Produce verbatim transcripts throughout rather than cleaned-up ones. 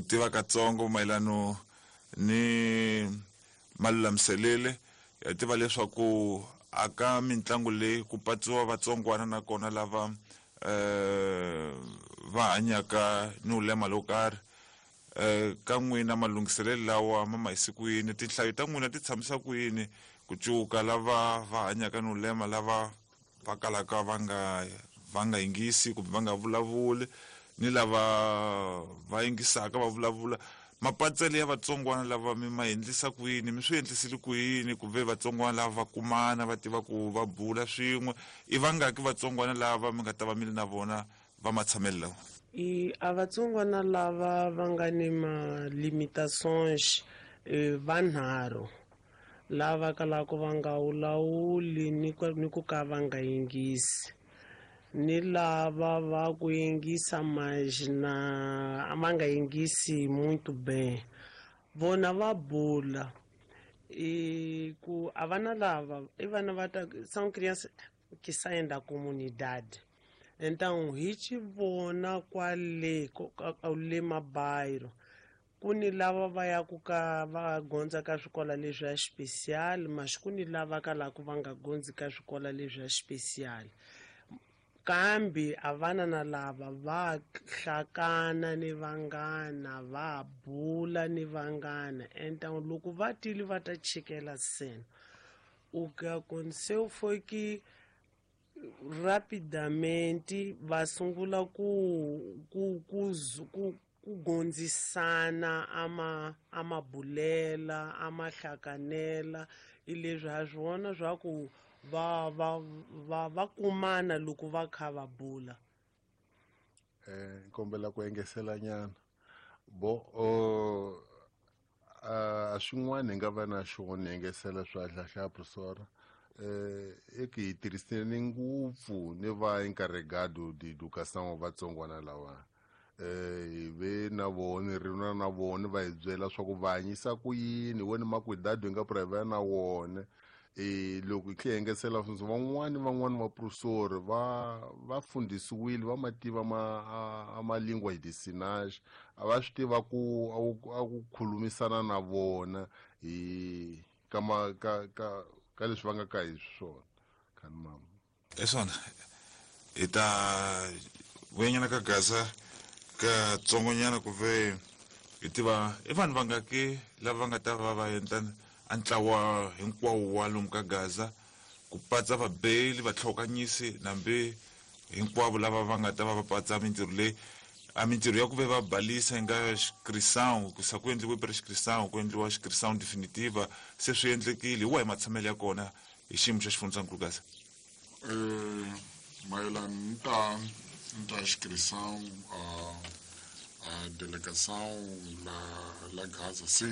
Tiva katsongo mayelano ni malulamiselele ya tiva leswaku aka mitlangu leyi ku patsiwa vatsongwana nakona lava eh va hanyaka ni ulema lo karhi. Eh ka n'wina malunghiselelo lawa ma ma yisi ku yini, tinhlayo ta n'wina ti tshamisa ku yini ku cuka lava va hanyaka ni ulema lava va kalaka va nga va nga yingisi kumbe va nga vulavuli ni lava va yingisaka va vulavula? Mapatsele ya vatsongwana lava mi ma endlisa ku yini, mi swi endlisile ku yini ku ve vatsongwana lava va kumana va tiva ku va bula swin'we? I vangaki vatsongwana lava mi nga ta va mi ri na vona va matshamelo lawa? I a vatsongwana lava va nga ni ma limitations vanharhu lava kalaka va nga wulawuli ni ku ni ku ka va nga yingisi, ni lava va ku yingisa mas na va nga yingisi muito bem. Vona va bula e ku a vana lava i vana va ta são crianças que saem da comunidade. Então hi ci vona kwale le mabairro ku ni lava va yaku ka va gondza ka swikola leswi ya special, mas ku ni lava kalaka va nga gondzi ka swikola leswi ya special. Kambe a vana na lava va hlakana ni vanghana, va bula ni vanghana. Então loko va tile va ta chikela cena, o que aconteceu foi que rapidamente va sungula ku ku ku ku ku gondzisana ama amabulela amahlakanela. I leswi ha swona swa ku va va va va kumana loko va kha va bula. Eh kombela ku engesela nyana bo o a swin'wana hi nga va na xona engesela swa hlahla professor eh eke hi tirhisene ngopfu ni va encarregado de educação vatsongwana lawa. Eh hi ve na vona ri na na vona va hi byela swa ku va hanyisa ku yini wena makwidado hi nga private na wona. E loko hi tlhe engesela sweswo van'wani van'wani va professor va va fundisiwile va mativa ma a ma lingua de sinais, a va swi tiva ku a ku khulumisana na vona hi ka ma ka ka ka leswi va nga ka hi swona. Khani mama hi swona hi ta vuyanyana ka Gaza ka tsongonyana ku ve hi tiva i vanhu vangaki lava va nga ta va va endla a ntlawa hinkwawo wa lomu ka Gaza ku patsa vabeli vatlhokanyisi nambe hinkwavo lava va nga ta va va patsa mintirho leyi a mintirho ya ku ve va balisa yi nga inscrição ku sa ku endliwe prescrição ku endliwa inscrição definitiva se swi endlekile. Hi wahi matshamelo ya kona hi xiyimo xa xifundzankulu Gaza? Eh mayelana ni ta ni ta inscrição a a delegação la la Gaza se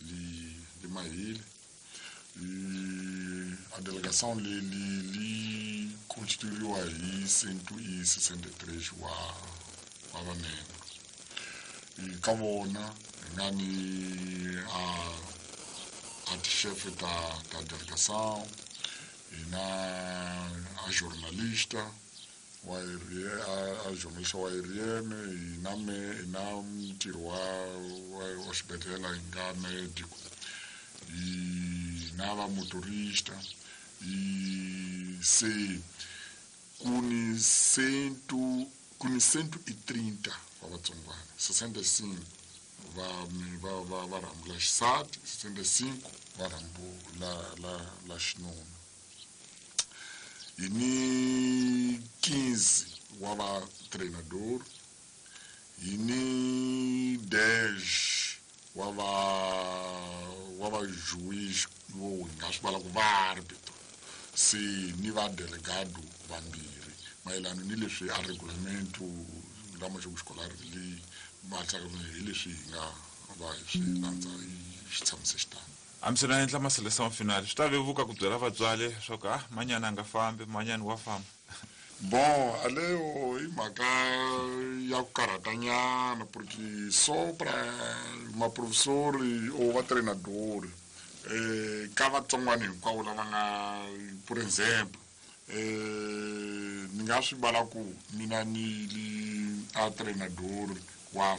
li li mahile. E a delegação li li li constituíwa hi cento e sessenta e três wa wa vamembro. E ka vona hi nga ni a a tixefe ta ta delegação, hi na a jornalista wa a, a jornalista wa R M, hi na me hi na mutirhi wa wa wa xibedhlele hi nga médico, hi na va motorista. E se ku ni cento ku ni cento e trinta wa vatsongwana, sessenta e cinco va va va va rhambu la xisati, sessenta e cinco va rhambu la la la xinuna. Hi ni quinze wa va treinador, hi ni dez wa va wa va juiz vo hi nga swi vala ku va árbitro, se ni va delegado vambirhi mayelana ni leswi a regulamento lama jogo escolar li matsaka hi leswi hi nga va hi swi landza hi xi tshamise xitano. A mi se na endla maseleção final swi ta vevuka ku byela vatswari leswaku ah manyana a nga fambi manyana wa famba. Bon aleyo i mhaka ya ku karhatanyana porque só pra maprofessori ou va treinador eh ka vatsongwana hinkwavo lava nga por exemplo eh ni nga swi vala ku mina ni li a treinador wa